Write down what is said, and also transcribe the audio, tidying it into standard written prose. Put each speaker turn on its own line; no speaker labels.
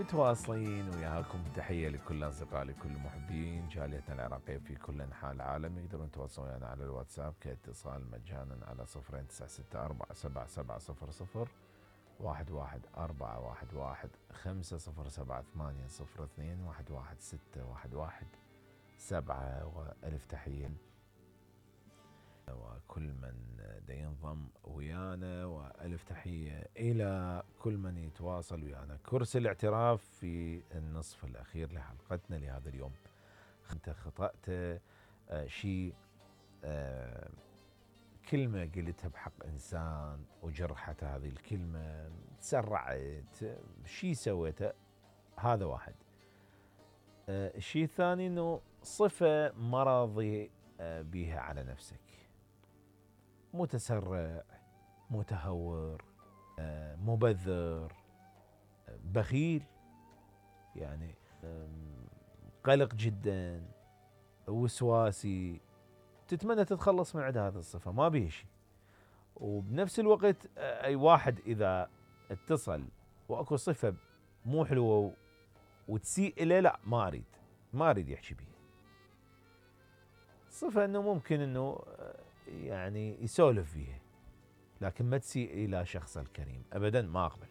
متواصلين وياكم. تحية لكل أصدقائي لكل المحبين جاليتنا العراقية في كل أنحاء العالم. يقدرون يتواصلون ويانا على الواتساب كاتصال مجانا على 09647700 11411802 وألف تحية وكل من ينضم ويانا، وألف تحية إلى كل من يتواصل ويانا. كرسي الاعتراف في النصف الأخير لحلقتنا لهذا اليوم. أنت خطأت شيء، كلمة قلتها بحق إنسان وجرحت هذه الكلمة، تسرعت، شيء سويته، هذا واحد. الشيء الثاني أنه صفة ما راضي بيها على نفسك، متسرع، متهور، مبذر، بخيل، يعني قلق جدا، وسواسي، تتمنى تتخلص من عند هذه الصفة، ما بيه شيء. وبنفس الوقت أي واحد إذا اتصل وأكو صفة مو حلوة وتسيء إليه، لا، ما أريد يحكي بيها. صفة أنه ممكن أنه يعني يسولف فيها، لكن ما تسيء إلى شخص الكريم أبدا، ما أقبل.